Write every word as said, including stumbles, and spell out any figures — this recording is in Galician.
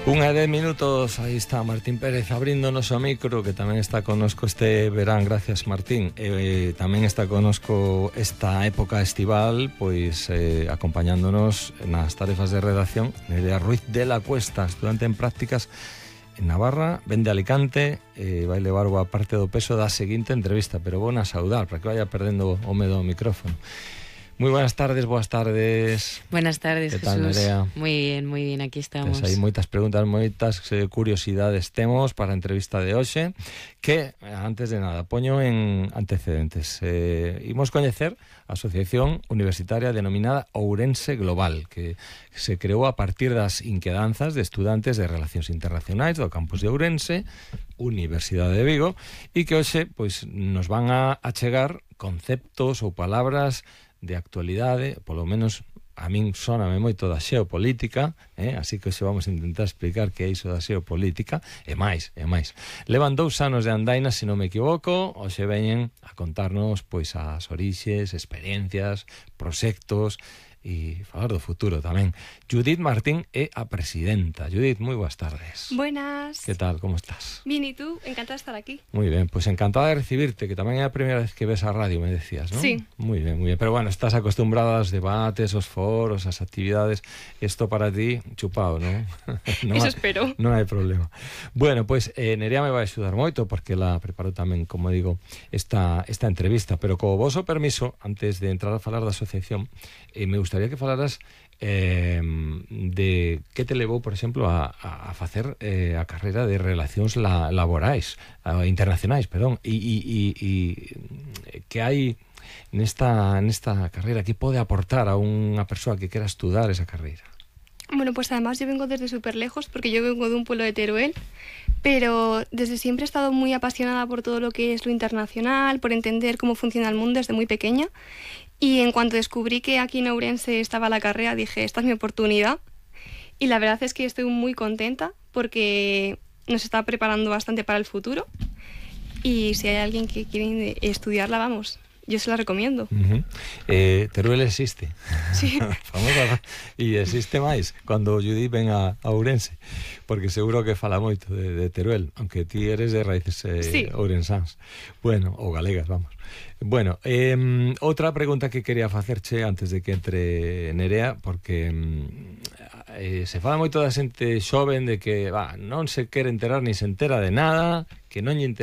Unha de minutos, aí está Martín Pérez abríndonos o micro, que tamén está connosco este verán, gracias Martín. E, tamén está connosco esta época estival, pois eh, acompañándonos nas tarefas de redacción, Nerea Ruiz de la Cuesta, estudante en prácticas en Navarra, ven de Alicante, e vai levar boa parte do peso da seguinte entrevista, pero vou na saudar, para que vaya perdendo o medo ao micrófono. Muy buenas tardes, buenas tardes. Buenas tardes, ¿Qué tal, Jesús? Nerea? Muy bien, muy bien, aquí estamos. Pues hai moitas preguntas, moitas eh, curiosidades temos para a entrevista de hoxe, que, antes de nada, poño en antecedentes. Eh, imos coñecer a asociación universitaria denominada Ourense Global, que se creou a partir das inquedanzas de estudantes de Relacións Internacionais do campus de Ourense, Universidade de Vigo, e que hoxe pois, nos van a achegar conceptos ou palabras de actualidade, polo menos a min sóname moito da xeopolítica, eh? Así que hoxe vamos a intentar explicar que é iso da xeopolítica, e máis, e máis. Levan dous anos de andaina, se non me equivoco, hoxe veñen a contarnos pois as orixes, experiencias, proxectos e falar do futuro tamén. Judith Martín é a presidenta. Judith, moi boas tardes. Buenas. Que tal, como estás? Bien, ¿y tú? Encantada de estar aquí. Muy bien, pues encantada de recibirte, que tamén é a primeira vez que ves a radio, me decías, ¿no? Sí. Muy bien, muy bien. Pero bueno, estás acostumbrada aos debates, aos foros, ás actividades. Esto para ti, chupado, ¿no? no Eso hay, espero. Non hai problema. Bueno, pues eh, Nerea me vai axudar moito, porque la preparou tamén, como digo, esta, esta entrevista. Pero co voso permiso, antes de entrar a falar da asociación, eh, me gustaría que falaras eh, de que te levou, por exemplo, a, a, a facer eh, a carreira de relacións la, laborais, a, internacionais, perdón, e, e, e, e que hai nesta, nesta carreira, que pode aportar a unha persoa que quera estudar esa carreira. Bueno, pues además yo vengo desde súper lejos, porque yo vengo de un pueblo de Teruel, pero desde siempre he estado muy apasionada por todo lo que es lo internacional, por entender cómo funciona el mundo desde muy pequeña. Y en cuanto descubrí que aquí en Ourense estaba la carrera, dije, esta es mi oportunidad. Y la verdad es que estoy muy contenta porque nos está preparando bastante para el futuro. Y si hay alguien que quiere estudiarla, vamos, yo se la recomiendo. Uh-huh. eh, Teruel existe. Sí. E existe máis cando Judith ven a, a Ourense, porque seguro que fala moito de, de Teruel, aunque ti eres de raíces eh, sí. ourensáns. Bueno, ou galegas, vamos. Bueno, eh, outra pregunta que quería facerche antes de que entre Nerea, porque eh, se fala moito da xente xoven de que va, non se quere enterar ni se entera de nada, que non lle interesa